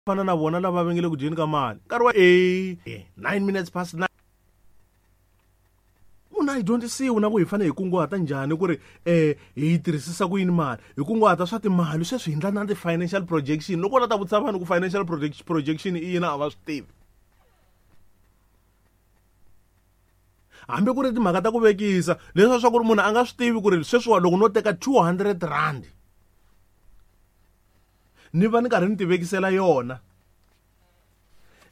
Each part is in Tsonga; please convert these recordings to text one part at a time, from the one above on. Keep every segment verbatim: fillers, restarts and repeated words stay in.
Fana na vona lava va nge le ku dyeni ka mali nkarhi wa e nine minutes past nine munhu a yi dyondzisiwi na ku hi fanele hi kunguhata njhani ku ri um hi yi tirhisisa ku yini mali hi kunguhata swa timali sweswi hi ndla na ti-financial projection loko u la ta vutisa vanhu ku financial projection i yini a va swi tivi hambi ku ri timhaka ta ku vekisa leswi swa ku ri munhu a nga swi tivi ku ri sweswiwa loko no teka two hundred rand ni va ni karhi ni ti vekisela yona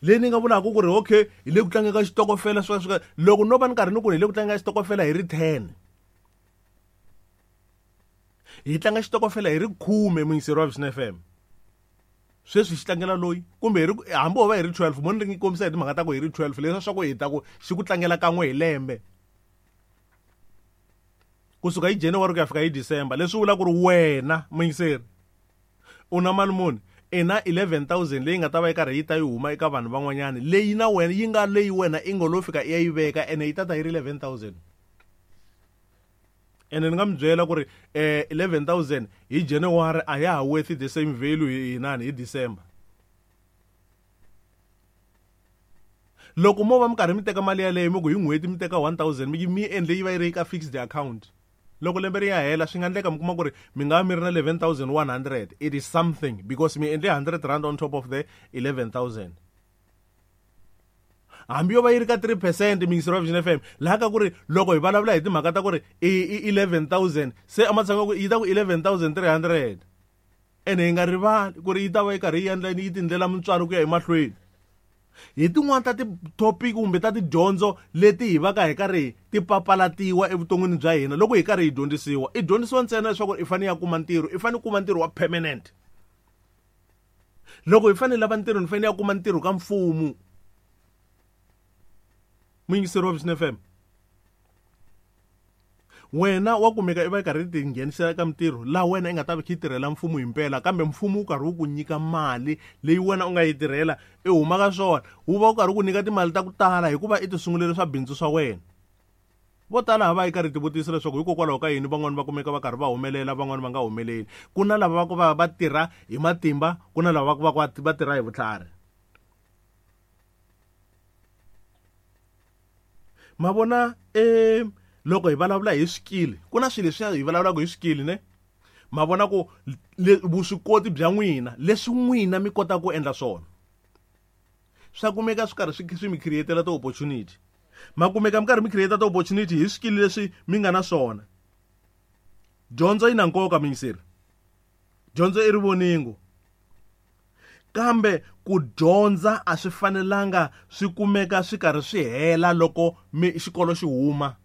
leyi ni nga vulaka ku ri okay hi le ku tlangeni ka xitokofela swi swi loko no va ni karhi ni ku hi le ku tlangeni ka xitokofela hi ri ten hi tlanga xitokofela hi ri khume muyingiseri wa Vision F M sweswi xi tlangela loyi kumbe hi ri hambi ho va hi ri twelve mo ni ri kombisa hi timhaka ta ku hi ri twelve leswi swa ku hi ta ku xi ku tlangela kan'we hi lembe kusuka hi January ku ya fika hi December leswi vula ku ri wena muyingiseri u na mali muni i na eleven thousand leyi nga ta va yi karhi yi ta yi huma eka vanhu van'wanyana leyi na wena yi nga leyi wena i ngo lo fika i ya yi veka ene yi ta ta yi ri eleven thousand ene ni nga mi byela ku ri eh eleven thousand hi January a ya ha worth the same value hi inani hi December loko mo va mi karhi mi teka mali yaleyo mi ku hi n'hweti mi teka one thousand mi mi endle yi va yi ri ka fixed account loko lembe ri ya hela swi nga endleka mi kuma ku ri mi nga mi ri na eleven thousand one hundred it is something because mi endle hundred rand on top of the eleven thousand hambi yo va yi ri ka three percent miyingiseri wa Vision F M laha ka ku ri loko hi vulavula hi timhaka ta ku ri i eleven thousand se ematshan'wini ku yi ta ku eleven thousand three hundred ene hi nga rivali ku ri yi ta va yi karhi yi endla yi tindlela mintswalo ku ya emahlweni hi tin'wani ta ti-topic kumbe ta tidyondzo leti hi va ka hi karhi ti papalatiwa evuton'wini bya hina loko hi karhi hi dyondzisiwa i dyondzisiwa ntsena leswaku i fanele ya kuma ntirho i fanele kuma ntirho wa permanent loko hi fanele lava ntirho ni fanele ya kuma ntirho ka mfumo muyingiseri wa Vision F M wena wa kumeka i va i karhi ti nghenisela eka mintirho laha wena i nga ta va kha yi tirhela mfumo hi mpela kambe mfumo wu karhi wu ku nyika mali leyi wena u nga yi tirhela i huma ka swona wu va wu karhi wu ku nyika timali ta ku tala hikuva i ti sungulele swa bindzu swa wena vo tala ha va yi karhi tivutisa leswaku hikokwalaho ka yini van'wani va kumeka va karhi va humelela van'wani va nga humeleli ku na lava va ku va va tirha hi matimba ku na lava va ku va ku va tirha hi vutlhari ma vona eh loko hi vulavula hi swikili ku na swilo leswi hi vulavulaka hi swikili ne ma vona ku vuswikoti bya n'wina leswi n'wina mi kotaka ku endla swona swa kumeka swi karhi swi swi mi createla ti-opportunity ma kumeka mi karhi mi create ti-opportunity hi swikili leswi mi nga na swona dyondzo yi na nkoka miyingiseri dyondzo i rivoningo kambe ku dyondza a swi fanelanga swi kumeka swi karhi swi hela loko mi xikolo xi huma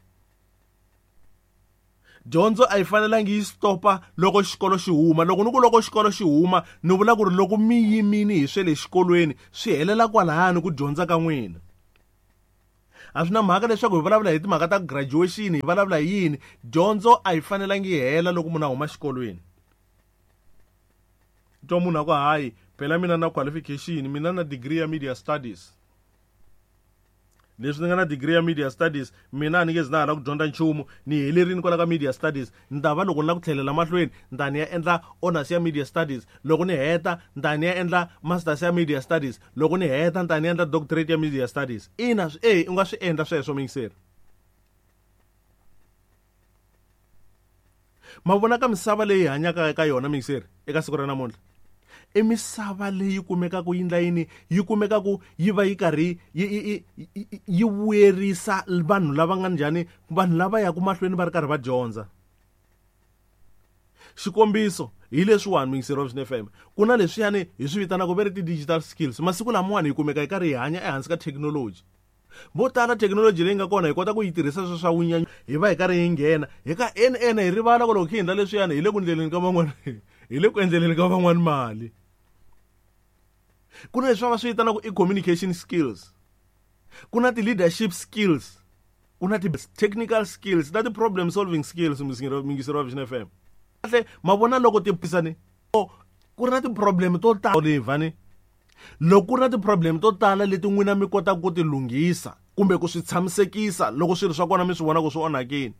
dyondzo a yi fanelangi yi stopa loko xikolo xi huma loko ni ku loko xikolo xi huma ni vula ku ri loko mi yimini hi swe le xikolweni swi helela kwalahani ku dyondza ka n'wina a swi na mhaka leswaku hi vulavula hi timhaka ta graduation hi vulavula hi yini dyondzo a yi fanelangi yi hela loko munhu a huma xikolweni twa munhu a ku hayi phela mina na qualification mina na degree ya media studies leswi ni nga na degree ya media studies mina a ni nge zi na ha la ku dyondza nchumu ni helerini kwala ka media studies ni ta va loko ni la ku tlhelela mahlweni ni ta ni ya endla honors ya media studies loko ni heta ni ta ni ya endla masters ya media studies loko ni heta ni ta ni endla doctorate ya media studies ina e u nga swi endla sweswo muyingiseri ma vona ka misava leyi hanyaka eka yona muyingiseri eka siku ra namuntlha i misava leyi kumekaka yi endla yini yi kumekaka yi va yi karhi yi yi yi vuyerisa vanhu lava nga njhani vanhu lava yaka mahlweni va ri karhi va dyondza xikombiso hi leswiwani muyingiseri wa Vision F M ku na leswiyani hi swi vitanaka ve ri ti-digital skills masiku lamawani hi kumeka hi karhi hi hanya ehansi ka thekinoloji vo tala thekinoloji leyi nga kona hi kota ku yi tirhisa swa swa vunyanyu hi va hi karhi hi nghena hi ka ene ene hi rivala ku loko hi endla leswiyani hi le ku ndleleni ka van'wani hi le ku endleleni ka van'wani mali ku na leswi va swi vitanaka i communication skills ku na ti-leadership skills ku na ti-technical skills na ti-problem solving skills muyingiseri wa Vision F M kahle ma vona loko ti pisani ku ri na ti-problem to tala ni loko ku ri na ti-problem to tala leti n'wina mi kotaka ku ti lunghisa kumbe ku swi tshamisekisa loko swilo swa kona mi swi vona ku swi onhakile